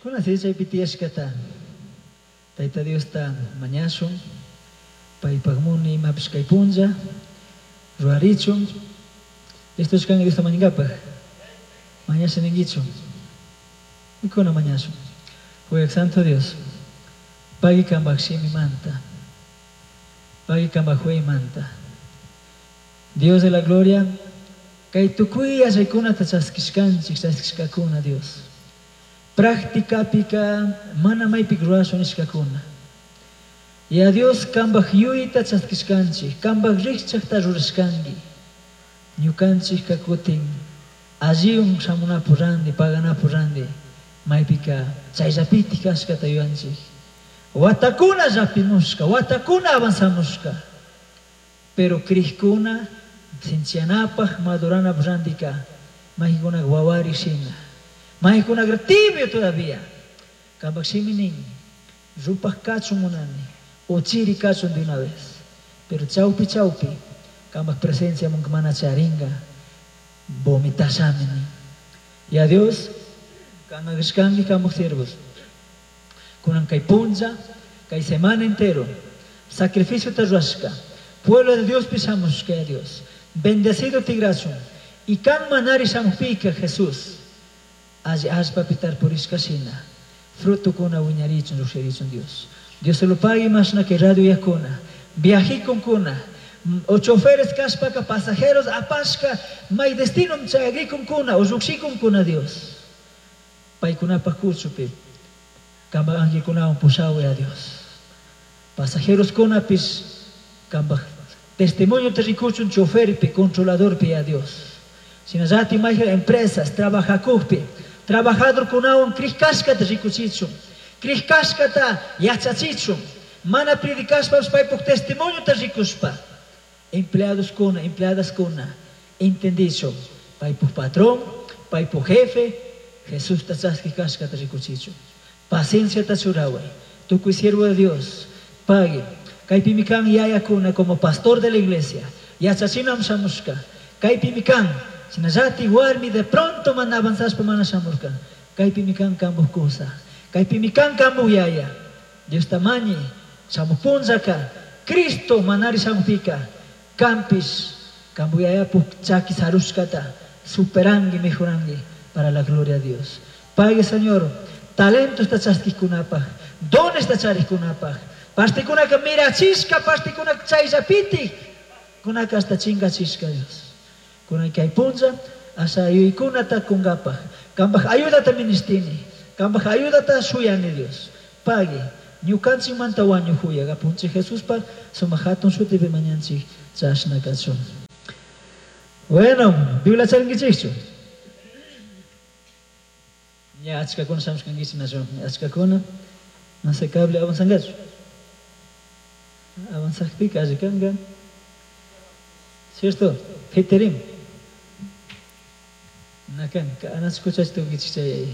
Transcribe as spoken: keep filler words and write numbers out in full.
Kuna chaypi tiyashkata Tayta Diosta mañashun, paypak muni imapish kay punlla rurarichun. Listochu kanki Diosta mañankapaq? Mañasha ninkichu? Mikuna mañashun. Huyak Santo Dios, pagui kambak shimimanta, pagui kambak huyaymanta. Dios de la gloria, kay tukuy yachaykunata chaskishkanchik, chaskishkakuna Dios. Prácticapika mana maypik rurashun nishkakuna. Ya Dios kambak yuyta chaskishkanchik, kambak rikchakta rurashkanki. Ñukanchik kutin alliyun shamunapu randi, paganapu randi, maypika chayllapitik kashkata yuyanchik. Watakuna llapimushka, watakuna avanzamushka. Pero krikuna sinchiyanapaj maduranapaj randika maykunak wawari shina. Maykunak tibio todavía. Kambak shimi nin, rupaj kachun munani, o chiri kachun de una vez. Pero chawpi chawpi, kambak presencia munka mana charinga, vomitashami nin. Ya Dios, kanagashkanki kambak siervos. Kunan kay punlla, kay semana entero, sacrificio ta rurashka, pueblo de Dios pishamushka ya Dios. Bendecido tigrachun. Y kan manari shamupika Jesús. Alli allpapi tarpurishka shina. Frutukuna wiñarichun llukshirichun Dios. Dios se lo pague mashna que radio yakuna. Viajikunkuna. O choferes kashpaka pasajeros apashka may destino chayagrikunkuna o llukshikunkuna Dios. Paykunapaj kuchupi. Kambak angelkunawan pushawi a Dios. Pasajeros kunapish kambak testimonio te rikuchun choferpi, controladorpi a Dios. Shinallati mayqa empresas trabajacujpi, trabajador kunawan krikashkata rikuchichun, krikashkata yachachichun, mana predicashpapish paypuk testimonio ta rikushpa, empleados kuna, empleadas kuna, entendichun, paypuk patrón, paypuk jefe, Jesusta chaskikashkata rikuchichun. Paciencia ta churaway, tukuy siervo de Dios, pague. Kaypimi kan yayakuna como pastor de la iglesia, yachachinam shamushka, kaypimi kan, shinallati warmi de pronto mana avanzashpa mana shamurka, kaypimi kan kambuj kusa, kaypimi kan kambuj yaya, Dios tamañi, shamuj punllaka, Cristo manari shamupika, kampish, kambuj yayapuk chaki sarushkata, superangi, mejorangi, para la gloria de Dios. Pague, Señor, talento esta chaskikunapaj, dones esta charikunapaj, partekunaka mirachishka, partekunaka chayllapiti, kunaka hasta chingachishka Dios. Kunaka kay punlla, asa yuykunata kungapaj, kambaj ayudata ministini, kambaj ayudata shuyani Dios. Pague, ñukanchikmanta wañujuya, apunchik Jesuspaj, sumak hatun shutipi mañanchik, chashna kachun. Bueno, Biblia charinkichikchu? Ya, achkakuna shamushkankichik nachu, achkakuna, no sé, cable avanzangachu. Avanzakpika alli kanka. Cierto? Fiterim. Nakan, anachu kuchachi tukunkichik chay